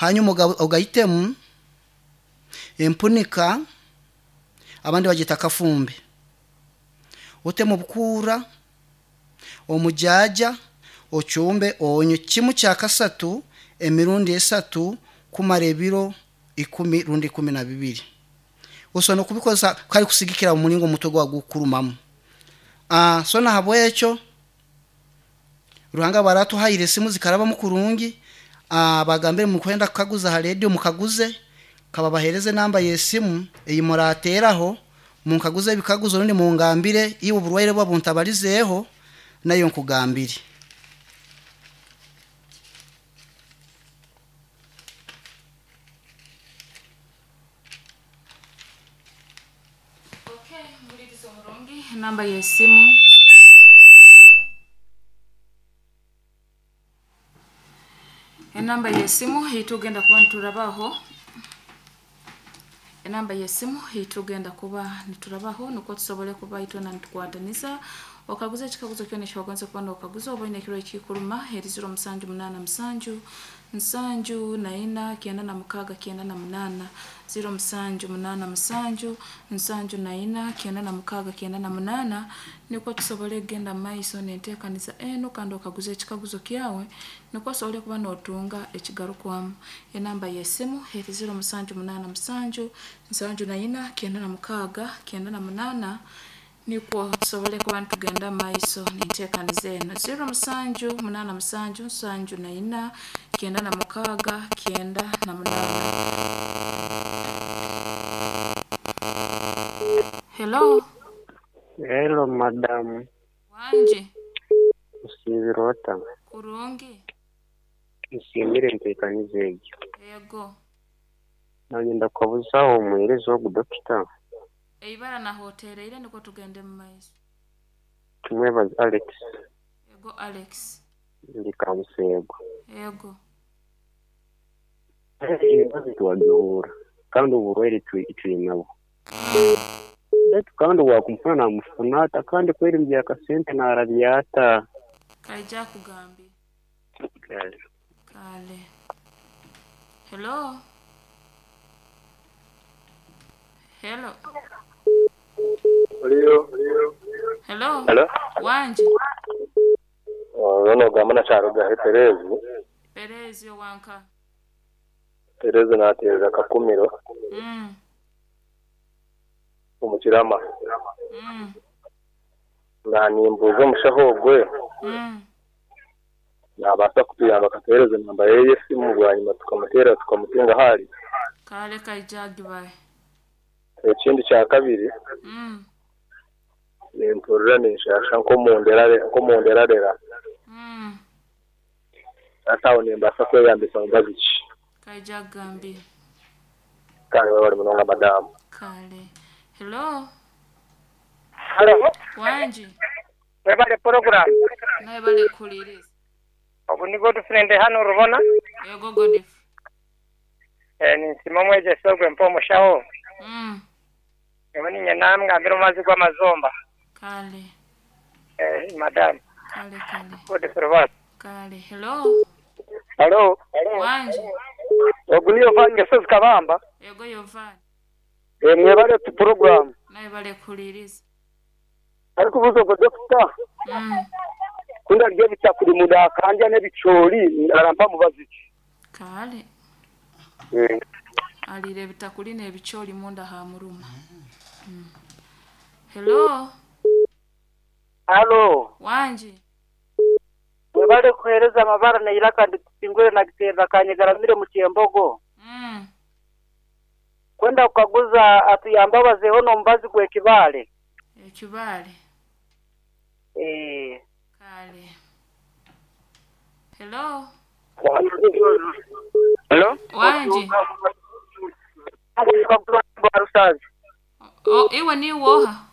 Hanyuma ogaitemu empunika, abandi bagyeta kafumbe. Otemu obukuura, omujaaja, ocumbe onywe kimu kya kasatu emirundi esatu kumara ebiro ikumi rundi 12. Osobola n'okubikozesa kare kusigikira omu muringo omutwe gwawe gukukurumamu. So nahabwekyo Ruhanga aba aratuhaire esimu zikarabamu kurungi, bagambire mukwenda kukaguza aha rediyo mukaguze, kababahereze enamba y'esimu ei murateeraho munkaguze ebikaguzo rundi mungambire iwe oburwaire obu buntabarizeeho nayo nkugambire. Okay, muhuririza omurungi enamba y'esimu. Enamba y'esimu ei tugenda kuba niturabaho enamba y'esimu ei tugenda kuba niturabaho nukwo tusobole kuba itwena nitukwataniza okaguza ekikaguzo kyona eki wagonza kuba nokaguza oba oine ekirwaire ekikuruma eri 0787 74 96 98, 0787 74 96 98, nukwo tusobole kugenda mumaiso n'enteekaniza enu kandi okaguze ekikaguzo kyawe nukwo osobole kuba nootunga ekigarukwamu. Enamba y'esimu eri 0787 74 96 98 nukwo tusobole kuba nitugenda mumaiso n'enteekaniza enu. 0787 74 96 98. Hello. Hello madamu. Wangi. Osiibire ota? Kurungi. Nsiimire enteekaniza egyo. Ego. Nanyenda kukabuzaho omuheereza ogu dokita. Eibara nahotereire nukwo tugende mumaiso. Tumwebaze Alex. Ego Alex. Ndi Kabuseego. Ego. Emibazi twagihura kandi oburwaire twinabwo. Beitu kandi owaakumufuna naamufuna ata kandi kweri eby'akasente naarabya ata? Kaija akugambire. Kale. Hello. Hello. Hello. Hello. Hello. Wangi. Ono ogamba na Kyarugahe Perezi. Perezi owanka. Perezi naateerera Kakumiro. Omu Kirama. Naanimbuuza omushaho ogwe naabaasa kutuyamba akatuheereza enamba ye y'esimu bwanyima tukamuteerera tukamutunga ahu ari. Kale kaija agibahe. Ekindi kya kabiri nimpurira ninshaasha nk'omunderarera. Hati aho nimbaasa kweyambisa mubazi ki? Kaija akugambire. Kale webare munonga madamu. Kale. Hello. Hello. Wangi. Webale program. Nawe bale kuhuririza. Ogu ni Godfrey ndi hanu Rubona. Ego Godfrey. Ninsiima omwegyesa ogwe mpa omushaho. Nyowe niinye naamugambira omubazi gw'amazomba. Kale. Madamu. Kale kale. Godfrey Rubona. Kale. Hello. Hello. Wangi. Ogu ni Yovaani Ngesozi Kabamba. Ego Yovaani. Mwebale program. Nawe bale kuhuririza. Arikubuuza ogwo dokita ku ndarya ebitakuri munda hakandya n'ebicoori arampa mubazi ki? Kale. Ariire ebitakuri n'ebicoori munda hamuruma. Hello. Halo. Wangi. Mwebale kuheereza amabara n'eiraka nditusingwire nagiteerera kanyegaramire mu Kyembogo. Kwenda kukaguza atuyambe abazeeho n'omubazi gw'ekibaare. Ekibaare. Kale. Hello. Hello. Wangi. Rusazi. Oh, iwe ni woha?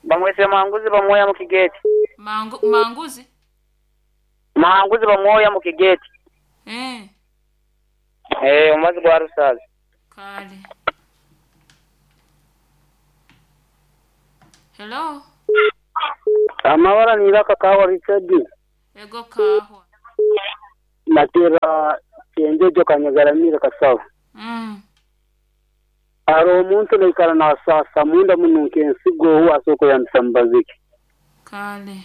Bamwese Manguzi bamwoya mu Kigeti. Manguzi? Manguzi bamwoya mu Kigeti. Omubazi gwa Rusazi. Kale. Hello. Amabara ni Iraka Kawa Richard. Ego Kahwa. Natera Kyenjojo Kanyagaramire Kasaba. Hariho omuntu naikara nasaasa munda muno nk'ensigo ou asobora kweyambisa mubazi ki? Kale.